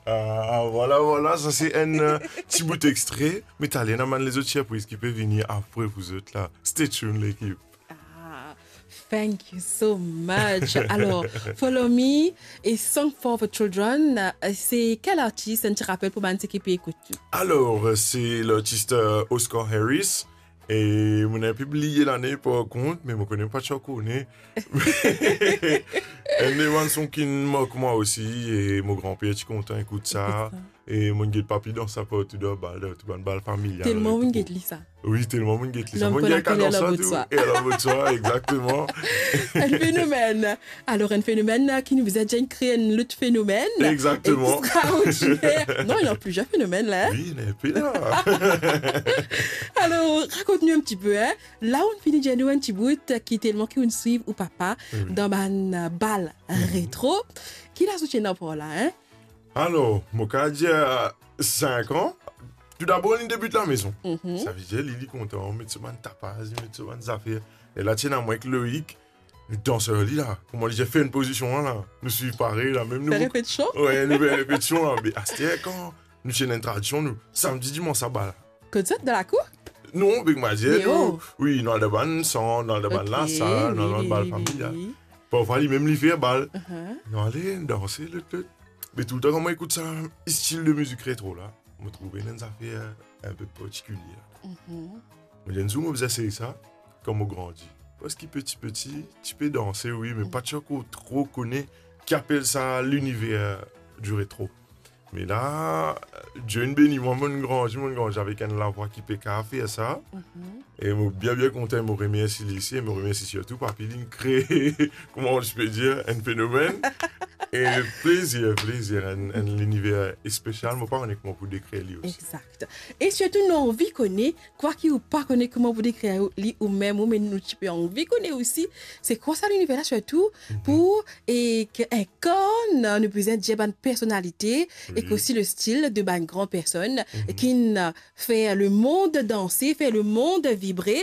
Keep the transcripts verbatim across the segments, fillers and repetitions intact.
Ah, ah, vwala, vwala, sa se enn, euh, ti bout extre, me taler ena bann lezot sirpriz ki pe vini apre pou zot la. Stay tuned, lekip. Ah, thank you so much. Alors, Follow Me et Song for the Children, euh, se kel artis, enn ti rapel pou bann seki pe ekout nou? Alors, euh, se lartis, euh, Oscar Harris, e mo inn pe bliye lane par kont, me mo kone pa ti kone. Enn de bann son ki mark mwa osi, e mo granper ti kontan ekout sa. Ekout sa. E mo inn get papi dans sa partou dan bal, dan tou bann bal familial. Telman mo inn get li sa. Wi, telman mo inn get li sa. L'homme qu'on appelle Alain Baudoin. Mo inn get kadans la tou. E Alain Baudoin, exactement. Enn fenomèn. Alors, enn fenomèn, euh, ki nou bizin dir kree enn lot fenomèn. Exactement. Extraordinaire. Non, il y a plusieurs phénomènes là, hein. Wi, ena pli la. Alors, rakont nou enn ti pe, hein. La ou'nn fini dir nou enn ti bout, euh, ki telman ki ou'nn swiv ou papa, wi, dan bann, euh, bal, mhm, retro. Ki laz ou ti ena par la, hein? Alors, mo kapav dir, euh, sink an. Toudabor, li debit lamezon. Mhm. Savedir, li, li kontan, met so bann tapaz, li met so bann zafer. E la, ti ena mwa ek Loïc, nou dans ar li la. Kouma li dir, fer enn pozision la, la. Nou swiv parey la, mem nou. Fer repetision? Wi, nou fer repetision la. Me aster, kan nou ti ena enn tradision, nou, samdi, dimans, sa bal la. Kot zot, dan lakour? Non, be, mo dir, nou, wi, nou al dan bann sant, nou al dan bann lasal, nou al dan bal familial. Ok, wi, wi, wi. Parfwa, li mem, li fer bal. Uh-huh. Nou ale danse, lot, lot. Me toultan, kan mo ekout sa stil de mizik retro la, mo trouve ena enn zafer enn pe partikilie la. Mhm. Mo dir, enn zour, mo bizin esey sa, kan mo grandi. Parski peti peti, ti pe danse, wi, me pa ti ankor tro kone ki apel sa liniver di retro. Me la, Dieu inn beni mwa, mo'nn grandi, mo'nn grandi avek enn lavwa ki pe kapav fer sa. Mhm. E mo bien, bien kontan, mo remersi li osi, e mo remersi sirtou papi, li'nn kree, kouma ti pe dir, enn fenomèn. E plezir, plezir, enn, enn liniver espesial, mo pa kone kouma pou dekrir li osi. Exact. E sirtou, nou anvi kone, kwaki ou pa kone kouma pou dekrir li ou mem, ou, me nou ti pe anvi kone osi, se kwa sa liniver la, sirtou, mhm, pou, e, ki inkarn, nou bizin dir, bann personalite, wi, ek osi le stil de bann gran personn, mhm, ki'nn fer lemond danse, fer lemond vibre.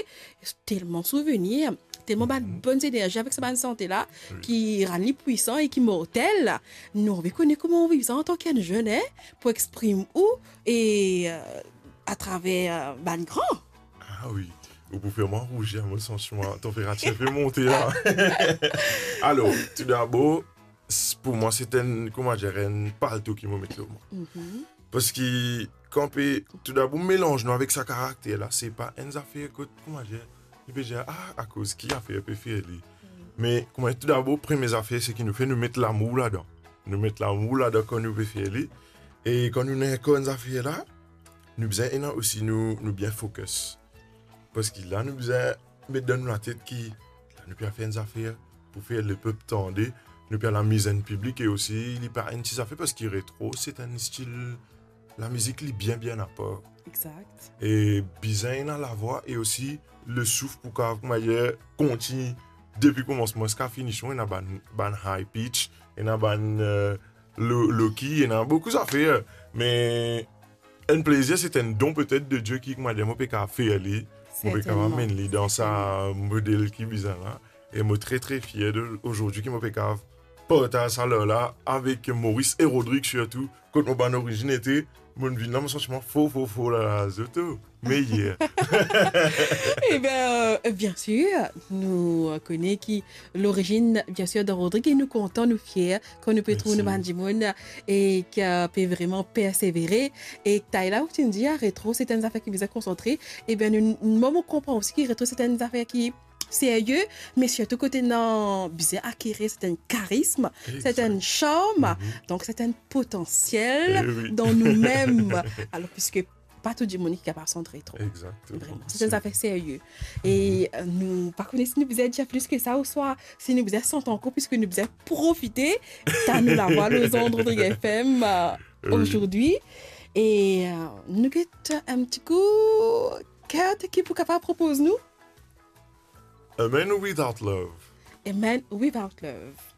Telman souvenir, telman bann, mhm, bonn zenerzi avek sa bann sante la, wi, ki rann li pwisan e ki mortel. Nou anvi kone kouma ou viv sa antan ki enn zenn, hein, pou exprim ou e, euh, atraver, euh, bann gran. Ah wi, ou pou fer mwa rouzir, mo santi mwa tanperatir pe monte la. Alor, toudabor, s-, pou mwa, se enn, kouma dir, enn palto ki mo met lor mwa. Mhm. Parski, kan pe, toudabor, melanz nou avek sa karakter la, se pa enn zafer kot, kouma dir, nou pe dir, ah, akoz ki zafer pe fer li. Mm. Me, kouma dir, toudabor, premie zafer, se ki nou fer, nou met lamour ladan. Nou met lamour ladan kan nou pe fer li. E kan nou ena enn zafer la, nou bizin ena osi nou, nou bien focus. Parski la, nou bizin met dan nou latet ki la, nou pe al fer enn zafer pou fer lepep tande, nou pe al amiz enn piblik e osi, li pa enn ti zafer, parski retro, se enn stil lamizik, li bien, bien apar. Exact. E bizin ena lavwa e osi le souf pou kapav, kouma dir, kontign depi koumansman ziska finision, ena bann, bann high pitch, ena bann, euh, low, low key, ena boukou zafer, me enn plezir, se enn don petet de Die ki, kouma dir, mo pe kapav fer li, mo pe kapav amenn li dan sa model ki bizin la. E mo tre, tre fier de, ozordi ki mo pe kapav partaz sa ler la avek Maurice e Rodrigue sirtou, kot mo bann orizinn ete, mo'nn vinn la, mo santi mwa for, for, for, la, la, zot, oh, meyer. Ebin, euh, bien sir, nou, euh, kone ki lorizinn, bien sir, dan Rodrigue, e nou kontan, nou fier, kan nou pe trouv nou bann dimoun e ki, euh, pe vreman persevere. E tala ou ti'nn dir, ah, retro, se enn zafer ki bizin konsantre. Ebin, nou, nou, mo konpran osi ki retro, se enn zafer ki serye, me sirtou kot ena bizin akerir, se enn karism, se enn charm, donk se enn potansiel dan noumem. Alor, piske pa tou dimoun ki kapav sant retro. Exactement. Vreman, se enn zafer serye. E, euh, nou pa kone si nou bizin dir plis ki sa, ouswa si nou bizin sant ankor, piske nou bizin profite tann nou lavwa lor zond Rodrigue F M, euh, ozordi. E, euh, nou get enn ti kou, Kurt, ki pou kapav propoz nou? A Man Without Love. A Man Without Love.